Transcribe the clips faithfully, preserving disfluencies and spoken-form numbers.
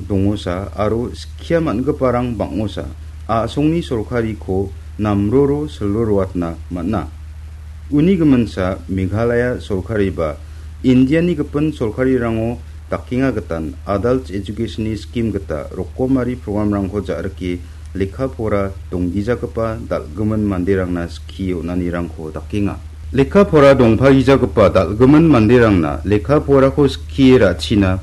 dongosa aro skia man·giparang bang·osa a·songni sorkariko namroro silroroatna man·a. Uni giminsa Meghalaya sorkariba Indiani gipin sorkarirango dakenga gitan Adult Education-ni skim gita rokomari programrangko ja·rike lekka pora donggijagipa dal·gimin manderangna skie on·anirangko dakenga. Lekka pora dongpagijagipa dal·gimin manderangna lekka porako skie ra·china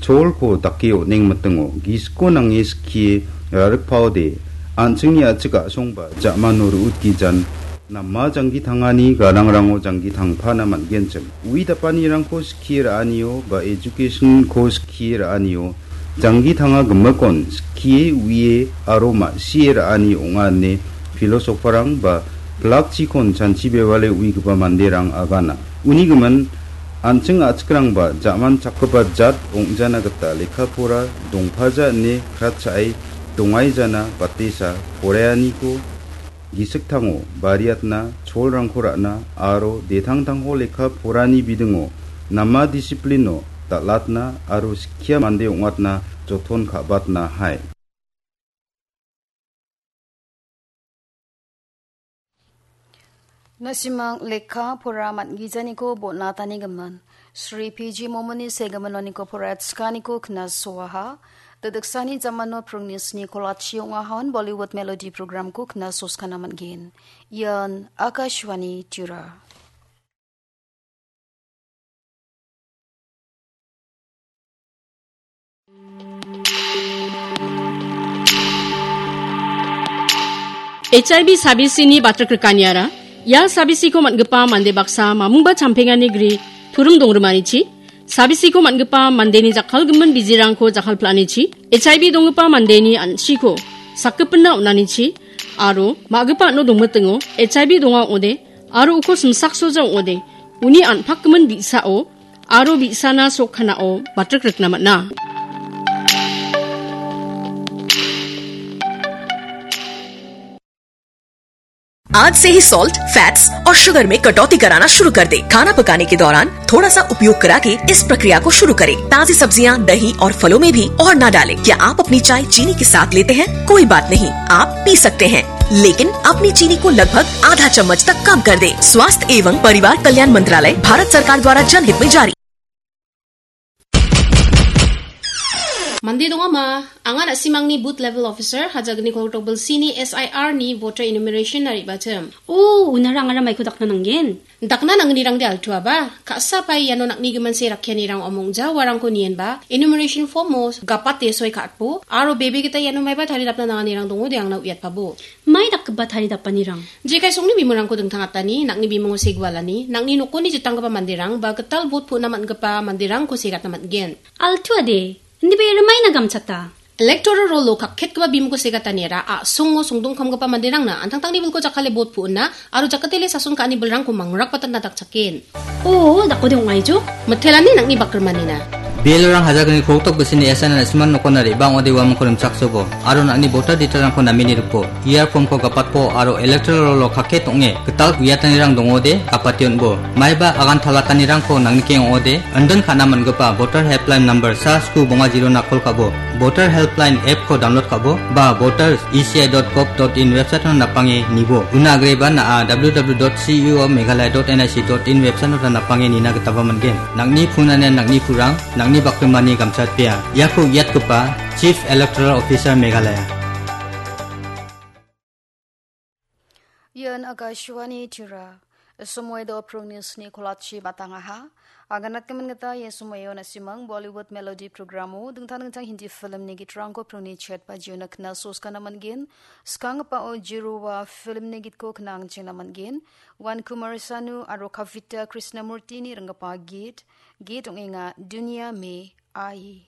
cholko dake on·engmitingo gisiko nange skie rarikpaode an·chingni a·chik a·songba ja·mano ru·utgijan nama janggi tangani gadangrango janggi tangpana man·genchim. Ui dapanirangko skie ra·anio ba education-ko skie ra·anio janggi tanga gimikon skie uie aro ma·sie ra·ani ong·a ine filosoferrang ba plakchikon chanchi bebale uigipa manderang agana. Uni gimin, an·ching a·chikrangba ja·man chakgipa jat ong·jana gita lekka pora dongpaja ine kratcha·e dongaijana batesa poraianiko gisiktango bariatna, cholrangko ra·na aro detangtangko lekka porani bidingo nama disiplino dal·atna aro skia mande ong·atna joton ka·batna hai. Na·simang lekka pora man·gijaniko bon·atanigimin Sri P G Momoni segimin oniko poraiatskaniko knasoaha. Dodiksani jamano prungni sni kolachi ong·ahaon Bollywood Melody programko knasoskana man·gen. Ian Akashvani Tura. H I V sabisini batrek rikaniara, ia sabisiko man·gipa mande baksa mamungba champengani gri turum dongrimanichi, sabisiko man·gipa mandeni jakkalgimin bijirangko jakkalpilanichi, H I V donggipa mandeni an·chiko sakgipinna on·anichi, aro ma·gipa an·o dongmitingo H I V donga ong·ode, aro uko simsaksoja ong·ode, uni an·pakgimin bi·sao aro bi·sana sok kanao batrek rikna man·a. आज से ही salt, fats और शुगर में कटौती कराना शुरू कर दें। खाना पकाने के दौरान थोड़ा सा उपयोग करा के इस प्रक्रिया को शुरू करें। ताजी सब्जियां, दही और फलों में भी और ना डालें। क्या आप अपनी चाय चीनी के साथ लेते हैं? कोई बात नहीं, आप पी सकते हैं, लेकिन अपनी चीनी को लगभग आधा चम्मच तक कम कर दें। स्वास्थ्य एवं परिवार कल्याण मंत्रालय, भारत सरकार द्वारा जनहित में जारी। Mande dongama, anga na·simangni booth level officer, hajagni koltok bilsini S I R ni voter enumeration na re·bachim. O, unara angara maiko dakna nanggen? Dakna nangnirangde altuaba, ka·sa pai iano nang·ni giminse rakkianirang omongja uarangko nienba, enumeration form-o gapate soi ka·atbo, aro bebe gita iano maiba taridapna nanganirang dongode angna uiatpabo. Mai dakgipa taridapanirang? Jekai songni bimungko dingtangatani, nang·ni bimungo segualani, nang·ni nokoni jitanggipa manderang, ba gital vote pu·na man·gipa manderangko segatna man·gen. Altuade, indiba ia rimaina gamchata. Electoral roll-o kakketgipa bimungko segataniara a·songo songdongkamgipa manderangna an·tangtangni bilko jakkale vote pu·na aro jakatele sason ka·ani bilrangko mangrakbatatna dakchaken. O, dakode ong·aijo? Mitelani nang·ni bakrimanina. Bialorang hajagni koltok bisini S I R na·simang nokona re·bang ode uamangko rimchaksobo, aro nang·ni voter detail-rangko namini ripo. Ia form-ko gapatpo aro electoral roll-o kakket ong·e gital uiatanirang dongode gapate on·bo. Maiba agan talatanirangko nangnikeng ong·ode, indon ka·na man·gipa voter helpline number sa sku bonga zero-na call ka·bo, voter helpline app-ko download ka·bo, ba voters E C I dot gov dot in website-o napange nibo. Una agreba na·a W W W dot C E O Meghalaya dot N I C dot in website-o napange nina gitaba man·gen. Nang·ni phone-anian nang·ni purang, nang·ni bakrimani gamchatpea. Iako uiatgipa Chief Electoral Officer Meghalaya. Ian Akashvani Tura. Somoido prungni sni kolachi batangaha. Aganatgimin gita ia somoio na·simang Bollywood Melody programo dingtang dingtang Hindi filmni gitrangko prungni chet bajiona knasoskana man·gen. Skanggipao Jirowa filmni gitko knangchengna man·gen. Wan Kumar Sanu aro Kavita Krishnamurtini ringgipa git, git ong·enga Duniya Mein Aayi.